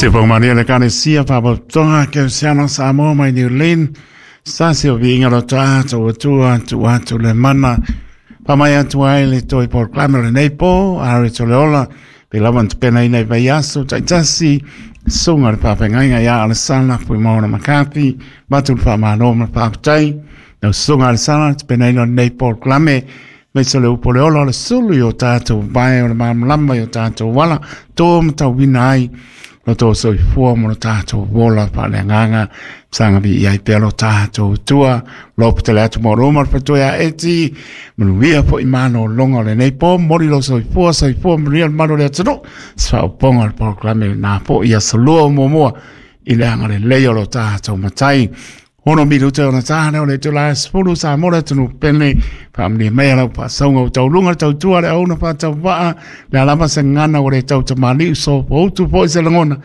Se whakamaria le Ekalesia Faalapotopotoga Kerisiano Samoa mai New Zealand, Stasi o viiga lo tatou Atua tuu atu le mana faamai atu ai le toe polokalame o lenei po a re le ola pe lava na tapenaina i vaiaso taitasi susuga le faafeagaiga ia Alesana Fuimaono McCarthy matu le faamalo ma le faafetai lau susuga Alesana le tapenaina o lenei polokalame aemaise o le upu o le ola o le sulu i o tatou vae o le malamalama i o tatou ala to matauina ai lo tou soifua ma lo tatou ola faaleagaga saga viia ai pea lo tatou Atua lo petele atu mo roma le faletua ia Eti manuia foi malologa o lenei po momoli lo soifua soifua manuia le malu o le atunuu se faaopoopoga o le polokalame lena foi aso lua o muamua i le agalelei o lo tatou matai. Ono minuta ona tā leo le itula e 10 sa mo le atunuu pene faamanuia mai lau faasauga ua tauluga le tautua le auauna faatauvaa le a lava se gagana ua le tautamalii sofoutu foi se lagona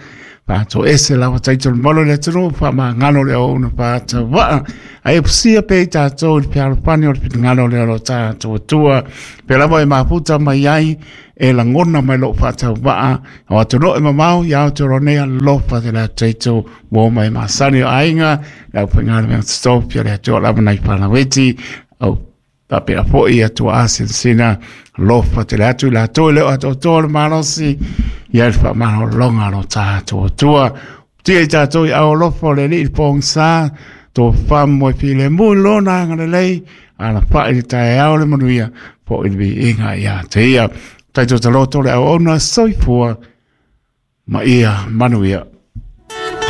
faatoese lava taito le malu o le atunuu faamagalo le auauna faatauvaa ae upusia pea i tatou i le fealofani o le finagalo lea o lo tatou Atua pea lava e mafuta mai ai e lagona mai lou faatauvaa o atunuu e mamao ia Aotearoa nei alofa te le taito ua mai masani o aiga le aufaigaluega totofi a le Atua lava nai fanaueti au faapea foi Atua asilasina alofa tele atu i latou e le o atoatoa le malosi ia le faamalologa o lo tatou Atua tia i tatou i au alofa o le Alii i le pogisa tofamoe filemu i lona agalelei alafai le taeao le manuia foi le viiga ia te ia. Taito taloto le auauna soifua ma ia manuia.